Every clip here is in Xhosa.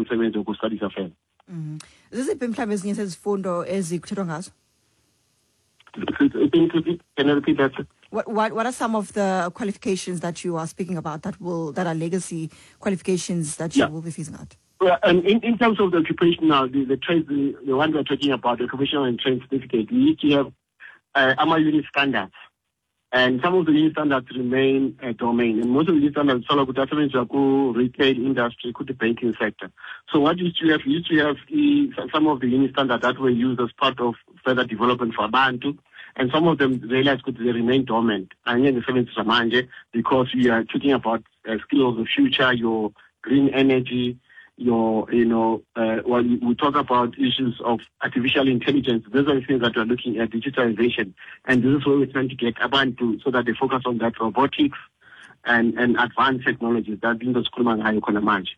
Umsebenzi woku-studies further. Ziziphi mhlawumbi ezinye zezifundo ezikuthethwa ngazo? Can you repeat that? What are some of the qualifications that you are speaking about that are legacy qualifications that you will be phasing out? Well, and in terms of the occupational, the trades, the one we're talking about, the occupational and trade certificate, we need to have AMA unit standards. And some of the unit standards remain domain. And most of the unit standards solo ku retail industry, ku the banking sector. So what used to have, we used to have some of the unit standards that were used as part of further development for abantu. And some of them realized could they remain dormant. And the seventh manje, because we are talking about skills of the future, your green energy, your, you know, well, we talk about issues of artificial intelligence. Those are the things that we're looking at, digitalization. And this is where we're trying to get abantu so that they focus on that robotics and advanced technologies that in the school khona manje.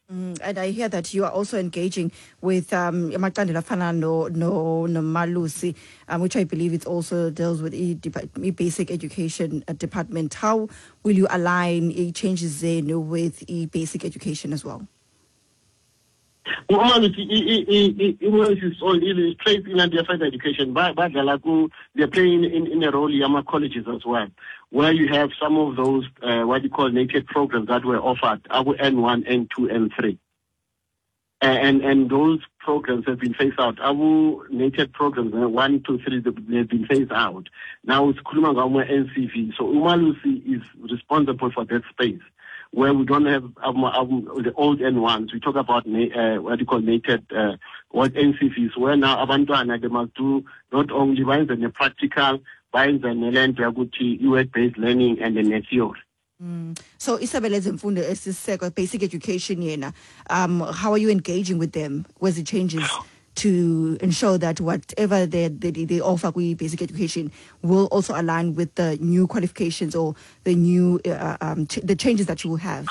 And I hear that you are also engaging with amacandelo afana no noMalusi, which I believe it also deals with e basic education department. How will you align e changes zenu with e basic education as well? uMalusi is all is trade in the further education. Badlala ku they're playing in a role yama colleges as well, where you have some of those what you call NATED programs that were offered, aku N1, N2, N3. And those programs have been phased out. Our NATED programs, 1, 2, 3, they've been phased out. Now it's sikhuluma ngama NCV. So uMalusi is responsible for that space, where we don't have the old N1s. We talk about what you call NATED, what NCVs, where now abantwana they must do not only bayenze ne-practical, bayenze nelento yakuthi i-work-based learning and the theory. So isebe lezemfundo esiseko, basic education yena, how are you engaging with them with the changes to ensure that whatever they offer kwi basic education will also align with the new qualifications or the new the changes that you will have?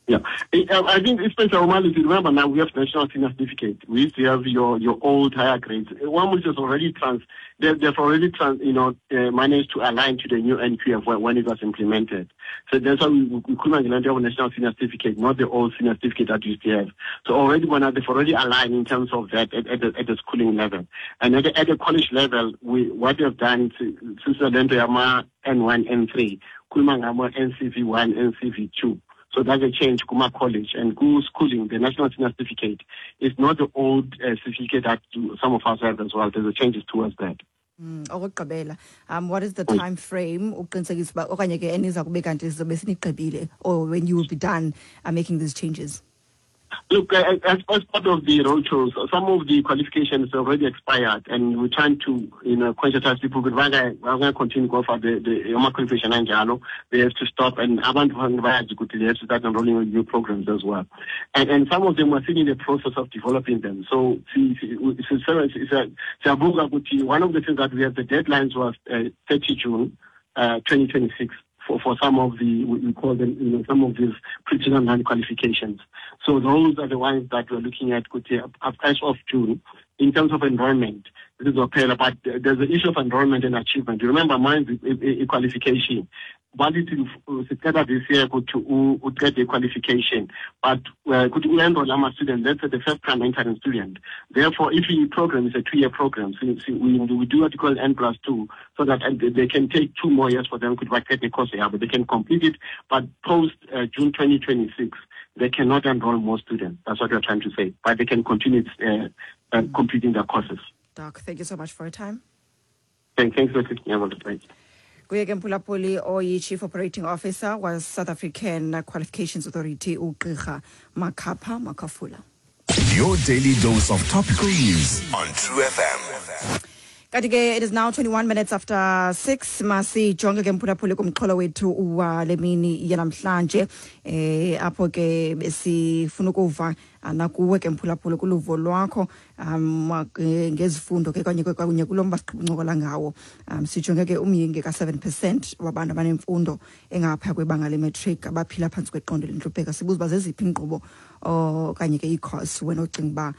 Yeah, I think especially uMalusi, remember now we have national senior certificate. We used to have your old higher grades. One which is already trans, they've already trans, you know, managed to align to the new NQF when it was implemented. So that's why we couldn't have a national senior certificate, not the old senior certificate that we used to have. So already when they've already aligned in terms of that at the schooling level. And at the college level, what we have done since the N1, N3, khuluma ngama NCV1, NCV2. So that's a change kuma college and ku schooling. The national senior certificate is not the old certificate that some of us have as well. There's a changes towards that. Okokugqibela, what is the time frame uqinisekisa uba okanye ke eniza kube kanti sizobe sinigqibile or when you will be done making these changes? Look, as part of the roadshows, some of the qualifications already expired, and we're trying to conscientize people. But we're going to continue to go for the qualification anjalo. They have to stop, and abantu bayazi ukuthi they have to start enrolling in new programs as well. And some of them are still in the process of developing them. So, siyabuka ukuthi one of the things that we have, the deadlines was 30 June 2026 for some of the, we call them, some of these pre-2009 qualifications. So those are the ones that we're looking at as of June. In terms of enrollment, this is okay, but there's the issue of enrollment and achievement. You remember mine is qualification. Bathi siqeda this year ukuthi uqede qualification, but ukuthi u-enroll ama-student, let's say the first time entering student. Therefore, if the program is a 2-year program, so we do what we call N plus 2, so that they can take 2 more years for them ukuthi baqede the course yabo. They can complete it, but post June 2026 they cannot enroll more students. That's what we're trying to say, but they can continue completing their courses. Doc, thank you so much for your time. Thanks for taking. Kuye ke, mphulaphuli, oyi-Chief Operating Officer was South African Qualifications Authority, uGqirha Makhapha Makhafola. Your daily dose of topical news on True FM. Kanti ke it is now 21 minutes after 6. Masijonge ke, mphulaphuli, kumxholo wethu wale mini yanamhlanje, apho ke besifuna ukuva nakuwe ke, mphulaphuli, kuluvo lwakho ngezifundo ke kanye kunye kulo mba siqhubuncokola ngawo. Sijonge ke umyinge ka-7% wabantu abanemfundo engaphaya kwebanga lematric abaphila phantsi kweqondo lentlupheko. Sibuza uba zeziphi iinkqubo Okanye ke ii-course wena ocinga uba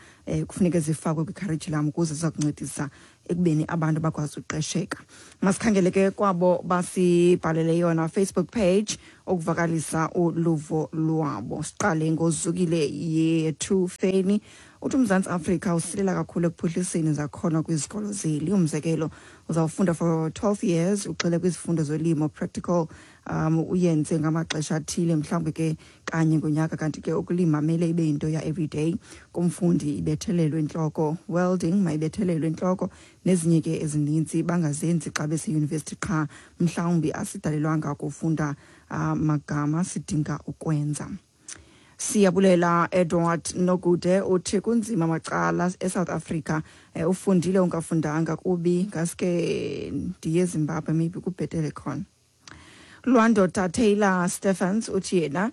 kufuneke zifakwe kwi-curriculum ukuze ziza kuncedisa ekubeni abantu bakwazi uqesheka. Masikhangele ke kwabo basibhalele yona Facebook page ukuvakalisa uluvo lwabo. Siqale ngoZukile Yethu Feni, uthi uMzantsi Afrika usilela kakhulu ekuphuhliseni izakhono kwizikolo zeli. Umzekelo, uzawufunda for 12 years, ugxile kwizifundo zolimo, practical uyenze ngamaxesha athile, mhlawumbi ke kanye ngonyaka, kanti ke ukulima mele ibe yinto ya everyday kumfundi, ibethelelwe intloko. Welding mayibethelelwe intloko, nezinye ke ezininzi, bangazenzi xa beseyunivesithi qha. Mhlawumbi asidalelwanga kufunda magama, sidinga ukwenza. Siyabulela. Edward Nogude uthi kunzima macala eSouth Africa, ufundile ungafundanga kubi, ngaske ndiye eZimbabwe, maybe kubhetele khona. Lwandoda Taylor Stephens uthi yena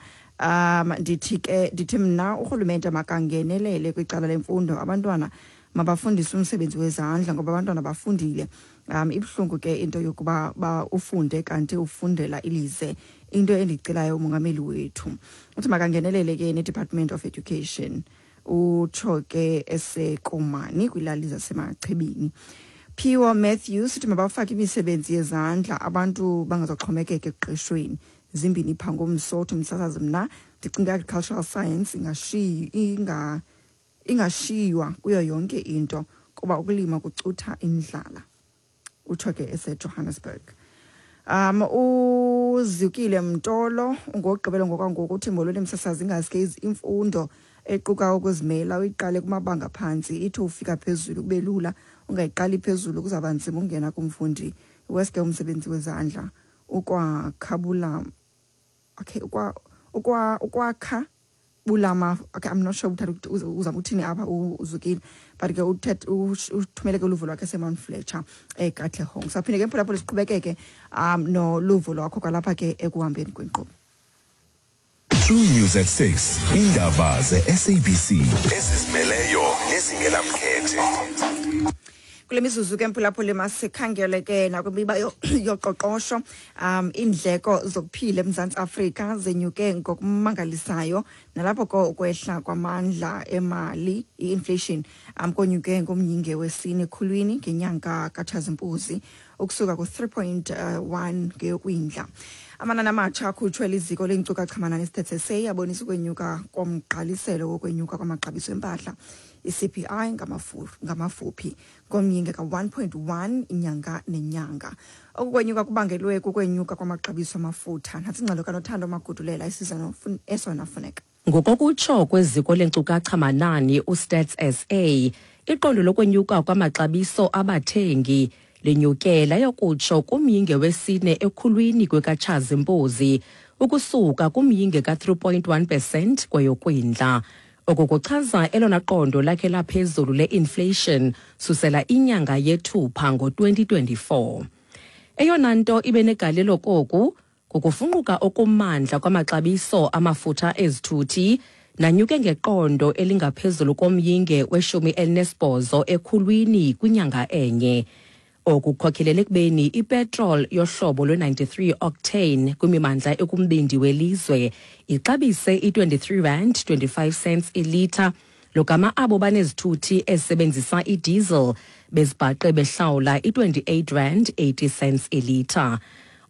ndithi ke, ndithi mna urhulumente makangenelele kwicala lemfundo, abantwana mabafundiswe umsebenzi wezandla ngoba abantwana bafundile. Ibuhlungu ke into yokuba ba ufunde kanti ufundela ilize. Into endicelayo, umongameli wethu uthi makangenelele ke ne-Department of Education. Utsho ke eseKomani kwilali zaseMachibini. Phiwo Matthews uthi mabafake imisebenzi yezandla, abantu bangazoxhomekeka ekuqeshweni. Zimbini pha ngomso uthi, msasazi, mna ndicinga agricultural science ingashiyi ingashiywa kuyo yonke into kuba ukulima kucutha indlala. Utsho ke eseJohannesburg. Uzukile Mtolo ungogqibelo ngokwangoku, uthi molweni msasazi, ingaske imfundo equka ukuzimela uyiqale kumabanga phantsi, ithi ufika phezulu kube lula. Ungayiqali phezulu kuzawuba nzima ungena kumfundi. Weske umsebenzi wezandla ukwakhabula, okay, ukwa ukwa ukwakha bulama. Okay, I'm not sure uthatha uzama uthini apha uZukile, but ke uthumele ke uluvo lwakhe eseMount Fletcher eKatlehong. Saphinde ke, mphulaphula, siqhubekeke noluvo lwakho kwalapha ke ekuhambeni kwenkqubo. True News at 6. Indaba ze-SABC ezizimeleyo nezingenamkhethe. Kule mizuzu ke, mphulaphuli, masikhangele ke nakwimiba yoqoqosho. Iindleko zokuphila eMzantsi Afrika zenyuke ngokumangalisayo, nalapho ko ukwehla kwamandla emali, i-inflation, konyuke ngomyinge wesine ekhulwini ngenyanga kaTshazimpuzi, ukusuka ku-3.1 ngeyoKwindla. Amanani amatsha akhutshwe liziko leenkcukacha-manani iStats SA abonisa ukwenyuka komgqaliselo wokwenyuka kwamaxabiso empahla, i-CPI ngamafuphi, ngomyinge ka-1.1 inyanga nenyanga. Oku kwenyuka kubangelwe kukwenyuka kwamaxabiso amafutha. Nantsi ingxelo kaNothando Magudulela isiza esona funeka. Ngokokutsho kweziko lenkcukacha manani uStats SA, iqondo lokwenyuka kwamaxabiso abathengi linyuke layokutsho kumyinge wesine ekhulwini kwekaTshazimpuzi, ukusuka kumyinge ka-3.1 percent kweyoKwindla. Oku kuchaza elona qondo lakhe laphezulu le-inflation susela inyanga yeThupha ngo-2024. Eyona nto ibe negalelo koku kukufunquka okumandla kwamaxabiso amafutha ezithuthi, nanyuke ngeqondo elingaphezulu komyinge we-18 ekhulwini kwinyanga enye. Oku kukhokelele ekubeni ipetrol yohlobo lwe-93 octane kwimimandla ekumbindi welizwe ixabise i-23 rand 25 cents ilitha, logama abo banezithuthi ezisebenzisa idiesel bezibhaqe behlawula i-28 rand 80 cents ilitha.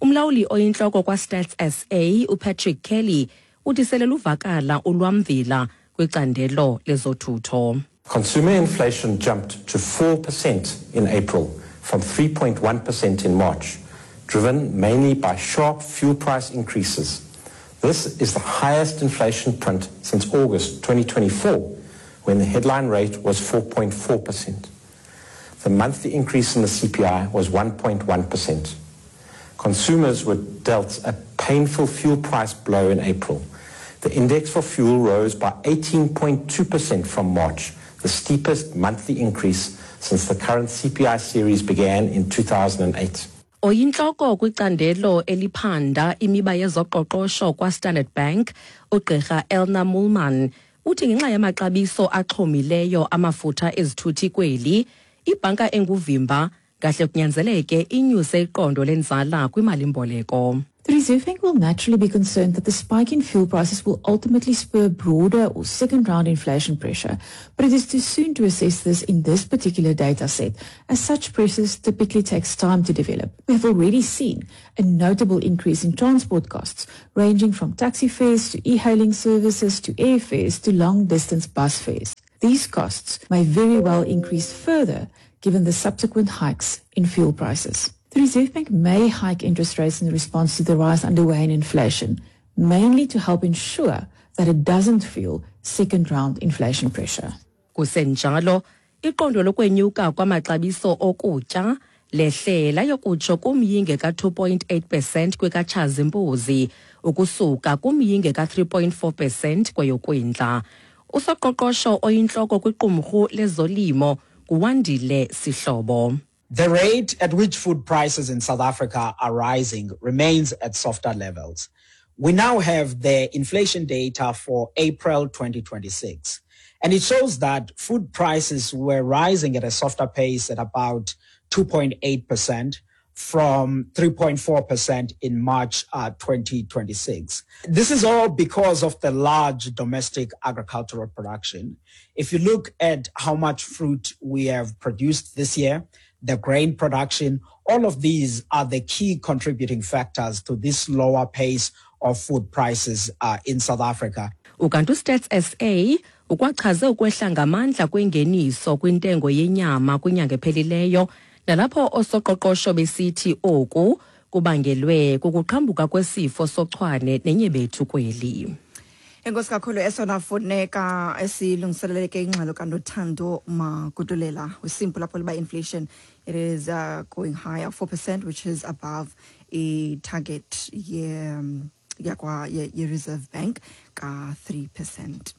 Umlawuli oyintloko kwaStats SA uPatrick Kelly uthi sele luvakala ulwamvila kwicandelo lezothutho. Consumer inflation jumped to 4% in April from 3.1% in March, driven mainly by sharp fuel price increases. This is the highest inflation print since August 2024, when the headline rate was 4.4%. The monthly increase in the CPI was 1.1%. Consumers were dealt a painful fuel price blow in April. The index for fuel rose by 18.2% from March, the steepest monthly increase since the current CPI series began in 2008. Oyintloko kwicandelo eliphanda imiba yezoqoqosho kwaStandard Bank, ugqirha Elna Moolman, uthi ngenxa yamaxabiso axhomileyo amafutha ezithuthi kweli, ibhanka enguvimba ngahle kunyanzeleke inyuse iqondo lenzala kwimalimboleko. The Reserve Bank will naturally be concerned that the spike in fuel prices will ultimately spur broader or second round inflation pressure, but it is too soon to assess this in this particular data set, as such pressures typically takes time to develop. We have already seen a notable increase in transport costs, ranging from taxi fares to e-hailing services to airfares to long-distance bus fares. These costs may very well increase further given the subsequent hikes in fuel prices. The Reserve Bank may hike interest rates in response to the rise underway in inflation, mainly to help ensure that it doesn't fuel second round inflation pressure. Kusenjalo, iqondo lokwenyuka kwamaxabiso okutya lehle layokutsho kumyinge ka-2.8 percent kwekatshazimpuzi ukusuka kumyinge ka-3.4 percent kweyokwindla. Usoqoqosho oyintloko kwiqumrhu lezolimo nguWandile Sihlobo. The rate at which food prices in South Africa are rising remains at softer levels. We now have the inflation data for April 2026, and it shows that food prices were rising at a softer pace at about 2.8% from 3.4% in March 2026. This is all because of the large domestic agricultural production. If you look at how much fruit we have produced this year, the grain production, all of these are the key contributing factors to this lower pace of food prices in South Africa. Ukanti uStats SA ukwachaze ukwehla ngamandla kwengeniso kwintengo yenyama kwinyanga ephelileyo, nalapho osoqoqosho besithi oku kubangelwe kukuqhambuka kwesifo sochwane nenyebethu kweli. Enkosi kakhulu, esona funeka esilungiseleleke ingxelo kaNothando Magudulela usimple lapho liba inflation, it is going higher, 4%, which is above a target ye yakwa ye-Reserve Bank ka-3%.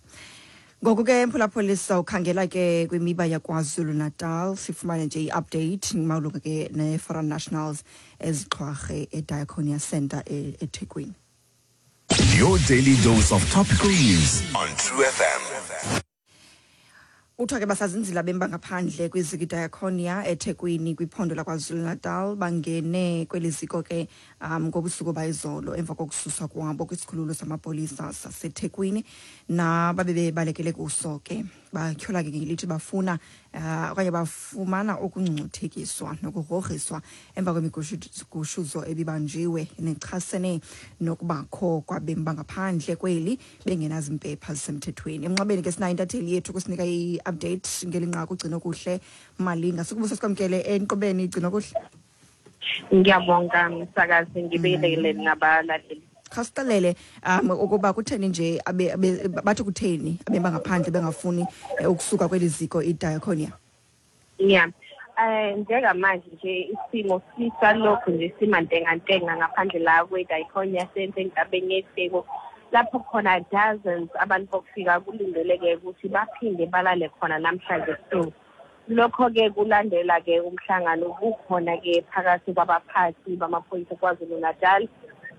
Ngoku ke, mphulaphuli, sawukhangela ke kwimiba yaKwaZulu Natal, sifumane nje i-update malunga ke ne-foreign nationals ezixhwarhe eDiaconia Center eThekwini. Your daily dose of topical news on True FM. Kuthiwa ke basazinzila bemba ngaphandle kwiziko iDiaconia eThekwini kwiphondo laKwaZulu-Natal. Bangene kweli ziko ke ngobusuku bayizolo emva kokususwa kwabo kwisikhululo samapolisa saseThekwini nababe bebalekele kuso ke. Batyhola ke ngelithi bafuna okanye bafumana ukungcuthekiswa nokugrogriswa emva kwemigushuzo ebibanjiwe nechasene nokubakho kwabemi bangaphandle kweli bengenazimpepha zisemthethweni. Emnxebeni ke sinayo intatheli yethu kusinika i-update ngeli nqaku, uGcinokuhle Malinga. Sikubusa sikwamkele enkqubeni, Gcinokuhle. Ngiyabonga, msakazi, ngibingelele nabalaleli. Khasixelele ukuba kutheni nje bathi kutheni abemi bangaphandle bengafuni ukusuka kweli ziko iDiaconia. Yeah. Njengamanje nje isimo sisalokhu nje simantengantenga ngaphandle la kwe-Diaconia Center enkabeni yeTheku, lapho khona dozens abantu bokufika kulindeleke ukuthi baphinde balale khona namhlanje ebusuku. Lokho-ke kulandela-ke umhlangano kukhona-ke phakathi kwabaphathi bamaphoyisa KwaZulu Natal,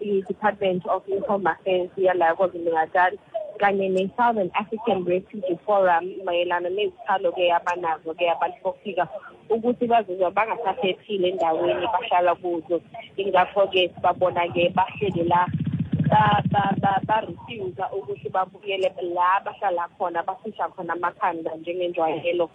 i-Department of Home Affairs yala KwaZulu Natal kanye ne-Southern African Refugee Forum mayelana nezikhalo-ke abanazo-ke abantu bokufika ukuthi bazizwa bangasaphephile endaweni bahlala kuzo. Ingakho-ke sibabona-ke bahleli la, ba-refuse ukuthi babuyele la bahlala khona, bafihla khona amakhanda njengenjwayelo.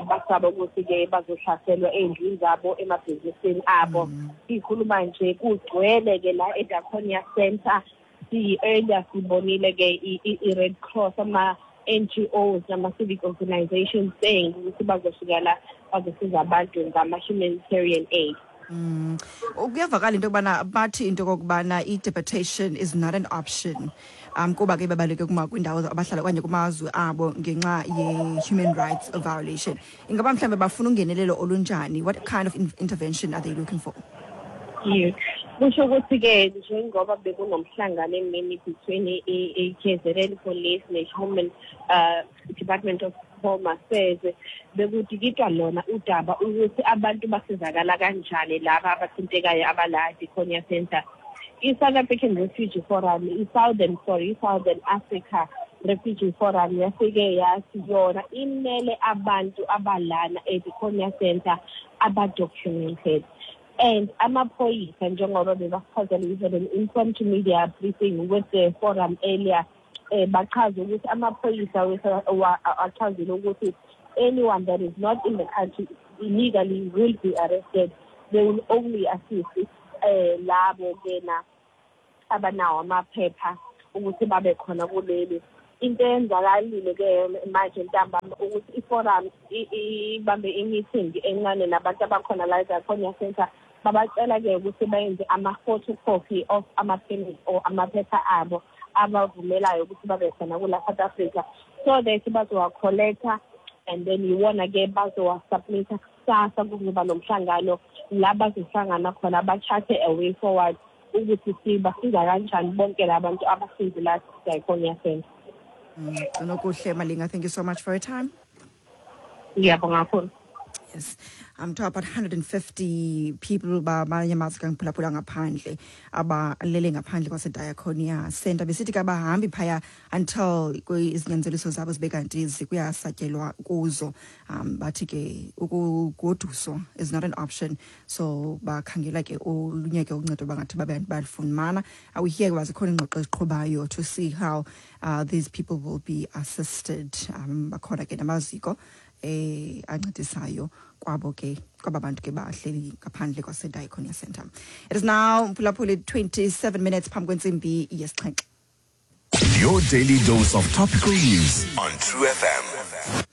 Basaba ukuthi-ke bazohlaselwa ey'ndlini zabo, emabhizinisini abo. Sikhuluma nje kugcwele-ke la eDiaconia Center. Si-earlier sibonile-ke i-Red Cross, ama-NGOs nama-civic organizations saying ukuthi bazofika la bazosiza abantu ngama-humanitarian aid. Kuyavakala into yokubana bathi into yokokubana i-deportation is not an option kuba ke bebaleke kwindawo abahlala okanye kumazwe abo ngenxa ye-human rights violation. Ingaba mhlawumbe bafuna ungenelelo olunjani? What kind of intervention are they looking for? Yes. Kusho ukuthi-ke njengoba bekunomhlangano emini between i-KZN Police ne-Human Department of Home Affairs, bekudikidwa lona udaba ukuthi abantu basizakala kanjani laba abathintekayo abala Diaconia Center. I-South African Refugee Forum, i-Southern, sorry, i-Southern Africa Refugee Forum yafike yathi yona imele abantu abalana e-Diaconia Center aba-documented. And amaphoyisa, njengoba bebasichazela, we had an impromptu media briefing with the forum earlier, bachaze ukuthi amaphoyisa achazile ukuthi anyone that is not in the country illegally will be arrested. They will only assist labo kena abanawo amaphepha ukuthi babe khona kuleli. Into eyenzakalile ke manje ntambama ukuthi i-forum ibambe i-meeting encane nabantu abakhona la eDiakonia Center, babacela ke ukuthi bayenze ama-photocopy of ama-permit or amaphepha abo abavumelayo ukuthi babe khona kula South Africa, so that bazowa-collecta and then iwona ke bazowa-submita kusasa. Kuzoba nomhlangano la bazohlangana khona ba-charte a way forward ukuthi sibasiza kanjani bonke labantu abahlezi la Diakonia Center. Nokuhle Malinga, thank you so much for your time. Ngiyabonga kakhulu. Yes. To about 150 people bamanye amazwe kangiphulaphula ngaphandle abalele ngaphandle kwaseDiakonia Center, besithi ke abahambi phaya until izinyanzeliso zabo zibe kanti kuyasatyelwa kuzo. Bathi ke ukugoduswa is not an option, so bakhangela ke olunye ke uncedo bangathi babe balifumana. Awuhiye uba zikhona iingxoxo eziqhubayo to see how these people will be assisted. Bakhona ke namaziko ancedisayo kwabo ke kwaba bantu ke bahleli ngaphandle kwaseDiakonia Center. It is now, mphulaphuli, 27 minutes phambi kwentsimbi yesixhenxe. Your daily dose of topical news on True FM.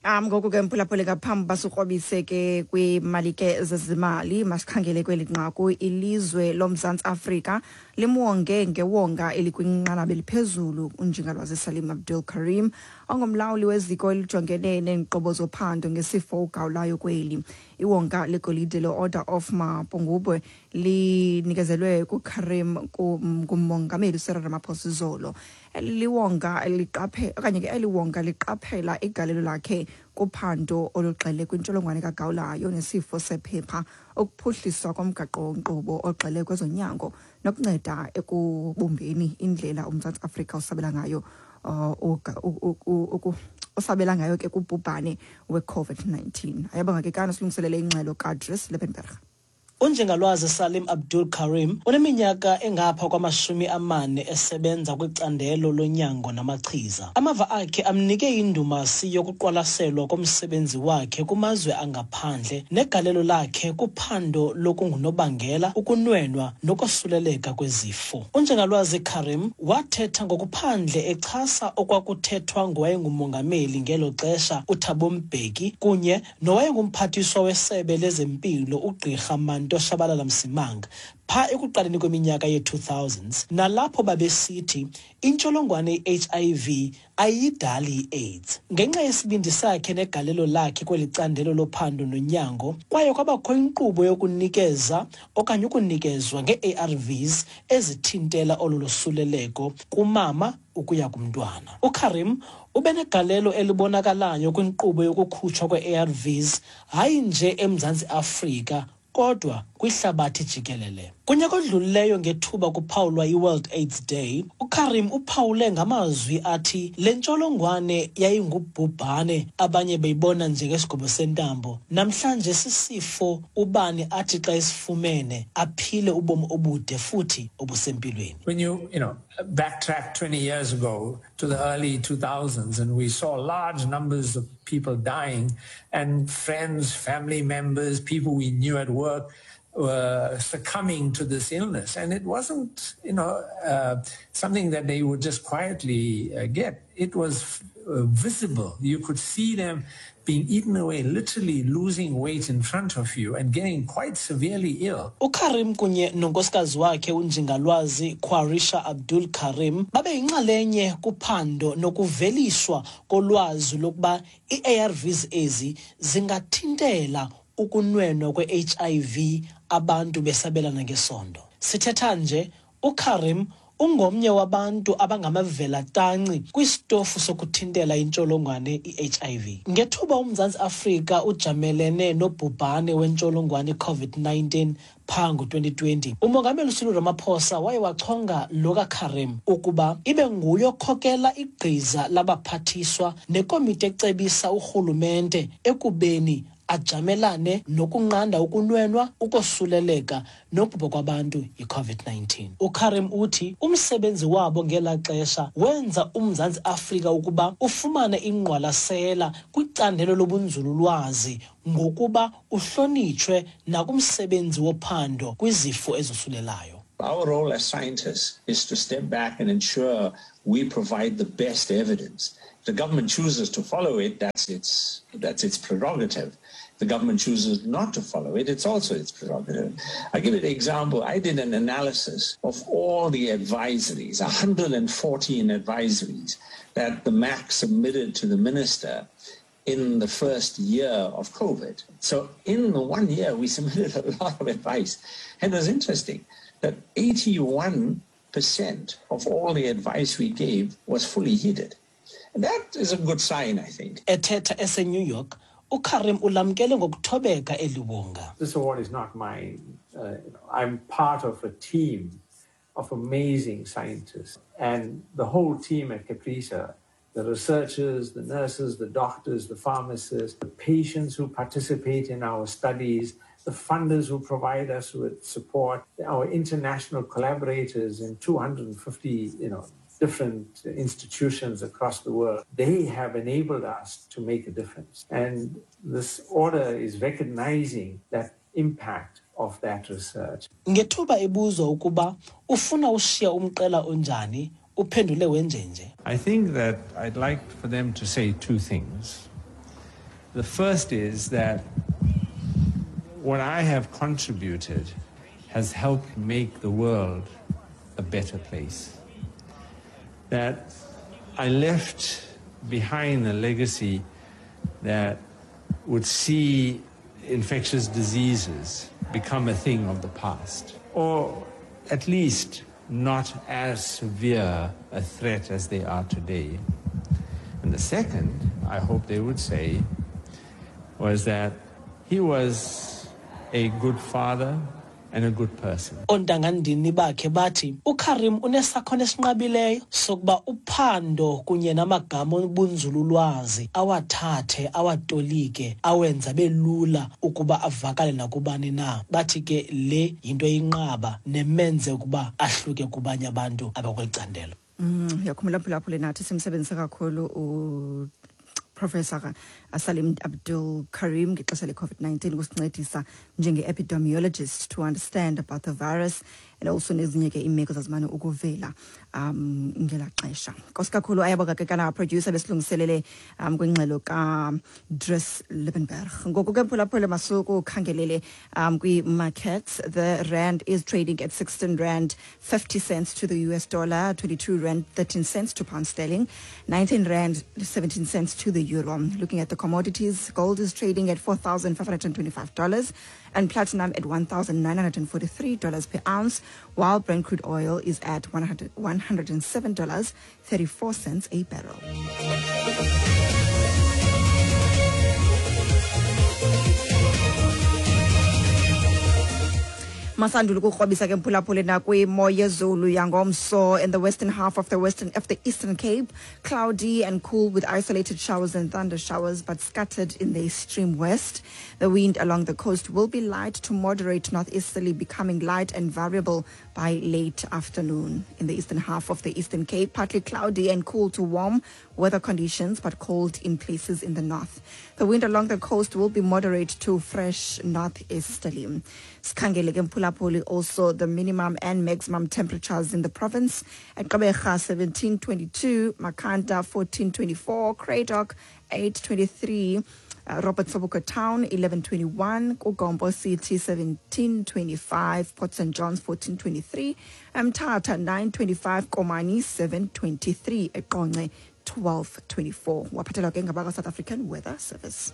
Ngoku ke, mphulaphuli, ngaphambi basikrobise ke kwimali ke zezimali, masikhangele kweli nqaku. Ilizwe loMzantsi Afrika limwonge ngewonga elikwinqanaba eliphezulu unjingalwazi Salim Abdul Karim, ongumlawuli weziko elijongene neenkqubo zophando ngesifo ugawulayo kweli. Iwonga legolide le-Order of Mapungubwe linikezelwe kuKarim ngumongameli uCyril Ramaphosa izolo. Liwonga liqaphe okanye ke eliwonga liqaphela igalelo lakhe kuphando olugxile kwintsholongwane kagawulayo nesifo sephepha, ukuphuhliswa komgaqo-nkqubo ogxile kwezonyango nokunceda ekubumbeni indlela uMzantsi Afrika usabela ngayo osabela ngayo ke kubhubhane we-COVID-19. Ayabonga ke kana silungiselele ingxelo kaDris Liebenberg. Unjengalwazi Salim Abdul Karim uneminyaka engapha kwama-40 esebenza kwicandelo lonyango namachiza. Amava akhe amnike indumasi yokuqwalaselwa komsebenzi wakhe kumazwe angaphandle negalelo lakhe kuphando lokungunobangela ukunwenwa nokosuleleka kwezifo. Unjengalwazi Karim wathetha ngokuphandle echasa okwakuthethwa ngowayengumongameli ngelo xesha uThabo Mbeki kunye nowayengumphathiswa wesebe lezempilo ugqirha Manto Shabalala Msimang pha ekuqaleni kweminyaka ye-2000s, nalapho babesithi intsholongwane i-HIV ayidali i-AIDS. Ngenxa yesibindi sakhe negalelo lakhe kweli candelo lophando nonyango, kwaye kwabakho inkqubo yokunikeza okanye ukunikezwa ngee-ARVs ezithintela olu losuleleko kumama ukuya kumntwana. UKarim ubenegalelo elibonakalayo kwinkqubo yokukhutshwa kwe-ARVs, hayi nje eMzantsi Afrika kodwa kwihlabathi jikelele. Kunyaka odlulileyo ngethuba kuphawulwa i-World AIDS Day, uKarim uphawule ngamazwi athi le ntsholongwane yayingubhubhane abanye beyibona njengesigobo sentambo. Namhlanje sisifo ubani athi xa esifumene aphile ubomi obude futhi obusempilweni. When you backtrack 20 years ago to the early 2000s and we saw large numbers of people dying and friends, family members, people we knew at work were succumbing to this illness. And it wasn't something that they would just quietly get. It was visible. You could see them being eaten away, literally losing weight in front of you and getting quite severely ill. UKarim kunye nonkosikazi wakhe unjingalwazi Quarisha Abdul Karim babe yinxalenye kuphando nokuveliswa kolwazi lokuba ii-ARVs ezi zingathintela ukunwenwa kwe-HIV abantu besabelana ngesondo. Sithetha nje uKarim ungomnye wabantu abangamavela-tanci kwisitofu sokuthintela intsholongwane i-HIV. Ngethuba uMzantsi Afrika ujamelene nobhubhane wentsholongwane i-COVID-19 phaa ngo-2020, umongameli uCyril Ramaphosa waye wachonga lo kaKarim ukuba ibe nguye okhokela igqiza labaphathiswa nekomiti ecebisa urhulumente ekubeni ajamelane nokunqanda ukunwenwa, ukosuleleka nokubhubha kwabantu yi-COVID-19. UKarim uthi umsebenzi wabo ngelaa xesha wenza uMzantsi Afrika ukuba ufumane ingqwalasela kwicandelo lobunzululwazi ngokuba uhlonitshwe nakumsebenzi wophando kwizifo ezosulelayo. Our role as scientists is to step back and ensure we provide the best evidence. If the government chooses to follow it, that's its prerogative. If the government chooses not to follow it, it's also its prerogative. I give you an example. I did an analysis of all the advisories, 114 advisories that the MAC submitted to the minister in the first year of COVID. So in the 1 year, we submitted a lot of advice. And it was interesting that 81% of all the advice we gave was fully heeded. And that is a good sign, I think. Ethetha eseNew York, uKarim ulamkele ngokuthobeka eli wonga. This award is not mine. I'm part of a team of amazing scientists. And the whole team at CAPRISA, the researchers, the nurses, the doctors, the pharmacists, the patients who participate in our studies, the funders who provide us with support, our international collaborators in 250 different institutions across the world, they have enabled us to make a difference. And this order is recognizing that impact of that research. Ngethuba ebuzwa ukuba ufuna ushiya umqela onjani, uphendule wenjenje. I think that I'd like for them to say two things. The first is that what I have contributed has helped make the world a better place. That I left behind a legacy that would see infectious diseases become a thing of the past, or at least not as severe a threat as they are today. And the second, I hope they would say, was that he was a good father and a good person. Oontangandini bakhe bathi uKarim unesakhono esinqabileyo sokuba uphando kunye namagama obunzululwazi awathathe awatolike awenza belula ukuba avakale nakubani na. Bathi ke le yinto eyinqaba nemenze ukuba ahluke kubanye abantu abakweli candelo. Uyakhumbula mphulaphuli, nathi simsebenzise kakhulu uProfessor Salim Abdool Karim ngexesha le-COVID-19 kusincedisa njenge-epidemiologist to understand about the virus and also nezinye ke iimeko zazimane ukuvela ngelaa xesha. Nkosi kakhulu, ayabonga ke kana producer besilungiselele kwingxelo kaDries Liebenberg. Ngoku ke mphulaphula, masukukhangelele kwi-markets. The rand is trading at 16 rand 50 cents to the US dollar, 22 rand 13 cents to pound sterling, 19 rand 17 cents to the euro. Looking at the commodities, gold is trading at $4,525 and platinum at $1,943 per ounce, while Brent crude oil is at $107.34 a barrel. Masandula ukukrobisa ke mphulaphuli nakwimo yezulu yangomso. In the western half of the Eastern Cape, cloudy and cool with isolated showers and thunder showers, but scattered in the extreme west. The wind along the coast will be light to moderate northeasterly, becoming light and variable by late afternoon. In the eastern half of the Eastern Cape, partly cloudy and cool to warm weather conditions, but cold in places in the north. The wind along the coast will be moderate to fresh northeasterly. Sikhangele ke mphulaphuli also the minimum and maximum temperatures in the province. At Gqeberha 1722, Makhanda 1424, Cradock 823, Robert Sobukwe Town 1121, KuGompo City 1725, Port St John's 1423, Mthatha 925, Komani 723, eQonce 1224. Waphathelwa ke ngabakwa South African Weather Service.